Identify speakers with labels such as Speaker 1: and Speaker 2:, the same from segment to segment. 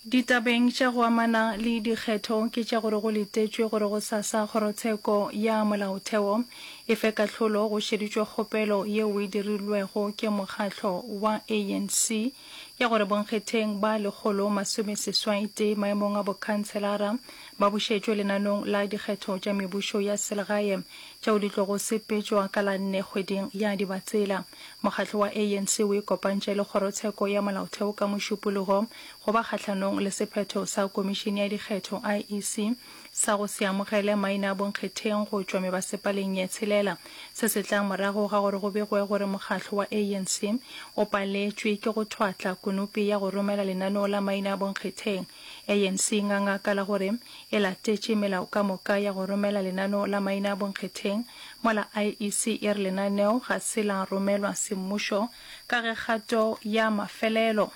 Speaker 1: Ditabeng tša go amana le dikgetho ke tša gore go letetšwe gore gosasa Kgorotsheko ya Molaotheo e fe kahlolo go šeditšwe kgopelo yeo e dirilwego ke mokgatlo wa ANC ya gore bonkgetheng ba 181 maemong a bokhanselara ba bušetšwe lenanong la dikgetho tša mebušo ya selegae tšeo di tlogo sepetšwa ka la nne kgweding ya Dibatsela. Mokgatlo wa ANC o ikopantše le Kgorotsheko ya Molaotheo ka Mošupologo go ba kgahlanong le sephetho sa Komišene ya Dikgetho, IEC, sa go se amogele maina a bonkgetheng go tšwa mebasepaleng ye tshelela. Se se tla morago ga gore go begwe gore mokgatlo wa ANC o paletšwe ke go thwatla konopi ya go romela lenaneo la maina a bonkgetheng. ANC e nganga ka la gore e latetše melao ka moka ya go romela lenaneo la maina a bonkgetheng, mola IEC e re lenaneo ga se la romelwa semmušo ka ge kgato ya mafelelo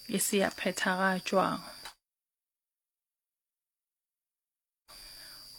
Speaker 1: e se ya phethagatšwa.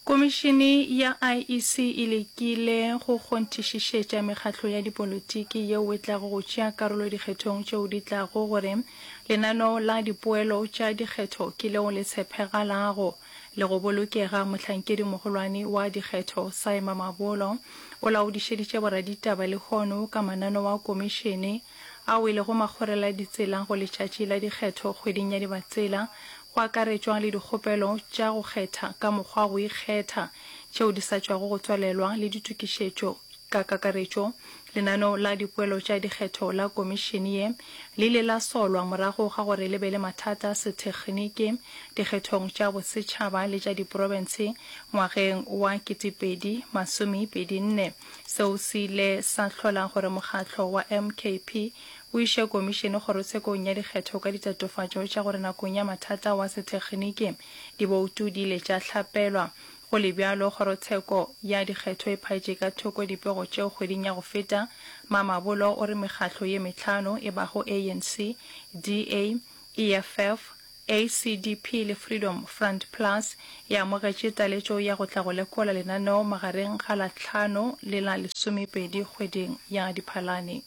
Speaker 1: Komišene ya IEC e lekile go kgonthišišetša mekgatlo ya dipolotiki yeo e tlago go tšea karolo dikgethong tšeo di tlago gore lenaneo la dipoelo tša dikgetho ke leo le tshepegalago le go bolokega. Mohlankedimogolwane wa dikgetho Saima Mabolo o laodišeditše boraditaba lehono ka mananeo a komišene ao e lego makgoreladitsela go letšatši la dikgetho kgweding ya Dibatsela, go akaretšwa le dikgopelo tša go kgetha ka mokgwa wa go ikgetha tšeo di sa tšwago go tswalelwa le ditokišetšo ka kakaretšo. Lenaneo la dipoelo tša dikgetho la komišene ye le ile la solwa morago ga gore le be le mathata a sethekgniki dikgethong tša bosetšhaba le tša diprofense ngwageng wa 2024. Seo se ile sa hlola gore mokgatlo wa MKP o iše komišene kgorotshekong ya dikgetho ka ditatofatšo tša gore nakong ya mathata wa sethekgniki diboutu di ile tša hlapelwa. Go le bjalo, kgorotsheko ya dikgetho e phaetše ka thoko dipego tšeo kgweding ya go feta. Mamabolo o re mekgatlo ye mehlano e bago ANC, DA, EFF, ACDP le Freedom Front Plus e amogetše taletšo ya go tla go lekola lenaneo magareng ga la hlano le la lesomepedi kgweding ya Diphalane.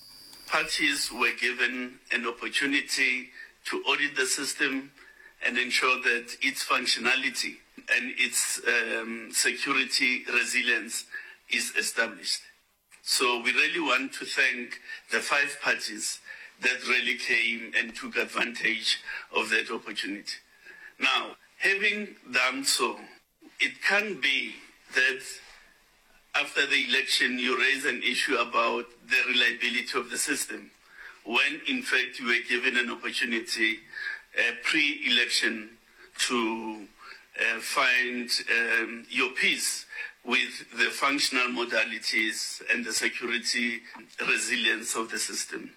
Speaker 2: Parties were given an opportunity to audit the system and ensure that its functionality and its security resilience is established. So we really want to thank the five parties that really came and took advantage of that opportunity. Now, having done so, it can't be that after the election you raise an issue about the reliability of the system when in fact you were given an opportunity uh, pre-election to uh, find um, your peace with the functional modalities and the security resilience of the system.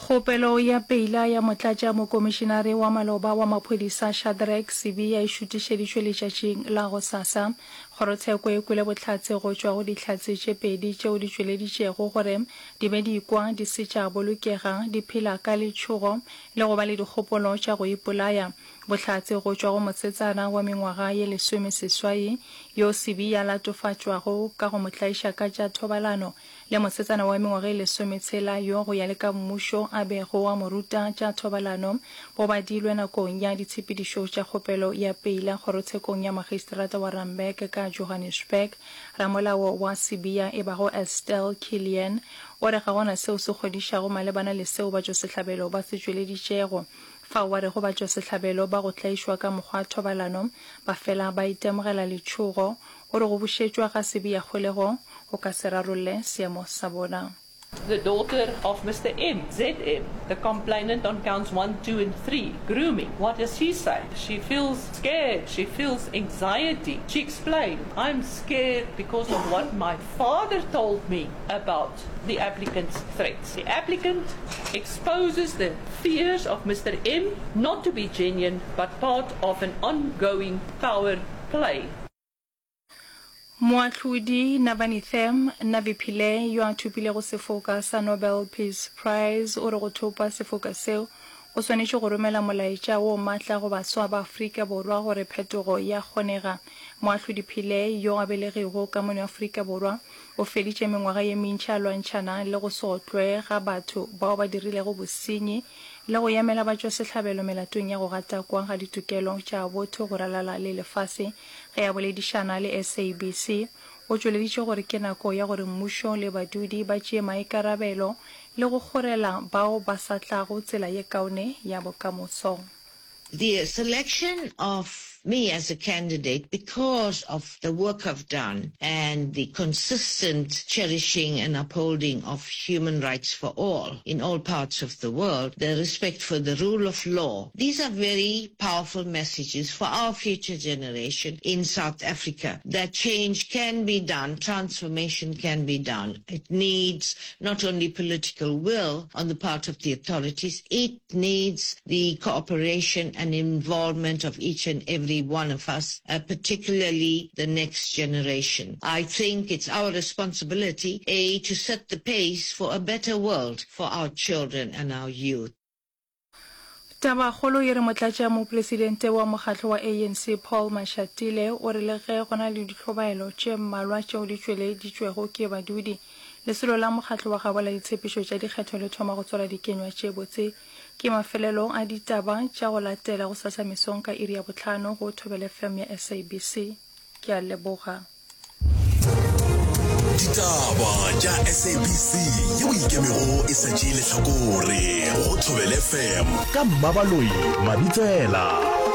Speaker 1: Kgopelo ya peila ya motlatšamokomišenare wa maloba wa maphodisa Shadrack Sibiya e šutišeditšwe letšatšing la gosasa. Kgorotsheko e kwele bohlatse go tšwa go dihlatse tše pedi tšeo di tšweleditšego gore di be di ikwa di se tša bolokega, di phela ka letšhogo le go ba le dikgopolo tša go ipolaya. Bohlatse go tšwa go mosetsana wa mengwaga ye lesomeseswai yo Sibiya a latofatšwago ka go mo tlaiša ka tša thobalano le mosetsana wa mengwaga e lesometshela yo go ya le ka mmušo a bego a mo ruta tša thobalano, bo badilwe nakong ya ditshepedišo tša kgopelo ya peila kgorotshekong ya magistrata wa Randburg ka Johannesburg. Ramolao wa Sibiya e bago Estelle Killian o re ga gona seo se kgodišago malebana le seo batšwasehlabelo ba se tšweleditšego. Fao ba rego batšwasehlabelo ba go tlaišwa ka mokgwa wa thobalano ba fela ba itemogela letšhogo O re go bušetšwa ga Sibiya kgolegong go ka se rarolle seemo sa bona.
Speaker 3: The daughter of Mister M, ZM, the complainant on counts 1, 2 and 3, grooming. What does she say? She feels scared, she feels anxiety. She explained, I'm scared because of what my father told me about the applicant's threats. The applicant exposes the fears of Mister M not to be genuine but part of an ongoing power play.
Speaker 1: Moahlodi Navanethem Navi Pillay yo a thopilego sefoka sa Nobel Peace Prize o re go thopa sefoka seo Go swanetše go romela molaetša wo matla go baswa ba Afrika Borwa gore phetogo ya kgonega. Moahlodi Pillay, yo a belegwego ka mono Afrika Borwa, o feditše mengwaga ye mentši a lwantšhana le go se otlwe ga batho bao ba dirilego bosenyi le go emela batšwasehlabelo melatong ya go gatakwa ga ditokelo tša botho go ralala le lefase. Ge a boledišana le SABC, o tšweleditše gore ke nako ya gore mmušo le badudi ba tšee maikarabelo le go kgorela bao ba sa tlago tsela ye kaone ya bokamoso.
Speaker 4: The selection of me as a candidate because of the work I've done and the consistent cherishing and upholding of human rights for all in all parts of the world, the respect for the rule of law. These are very powerful messages for our future generation in South Africa that change can be done, transformation can be done. It needs not only political will on the part of the authorities, it needs the cooperation and involvement of each and every one of us, uh, particularly the next generation. I think it's our responsibility, A, to set the pace for a better world for our children and our youth.
Speaker 1: Tabakgolo e re Motlatšamopresidente wa mokgatlo wa ANC Paul Mashatile o re le ge go na le ditlhobaelo tše mmalwa tšeo di tšweleditšwego ke badudi, lesolo la mokgatlo wa gabo la ditshepišo tša dikgetho le thoma go tswala dikenywa tše botse. Ke mafelelo a ditaba tša go latela gosasa mesong ka iri ya bohlano go Thobela FM ya SABC. Ke a leboga.
Speaker 5: Ditaba tša SABC yeo e ikemego e sa tšee lehlakore go Thobela FM ka Mmabaloi Mabitsela.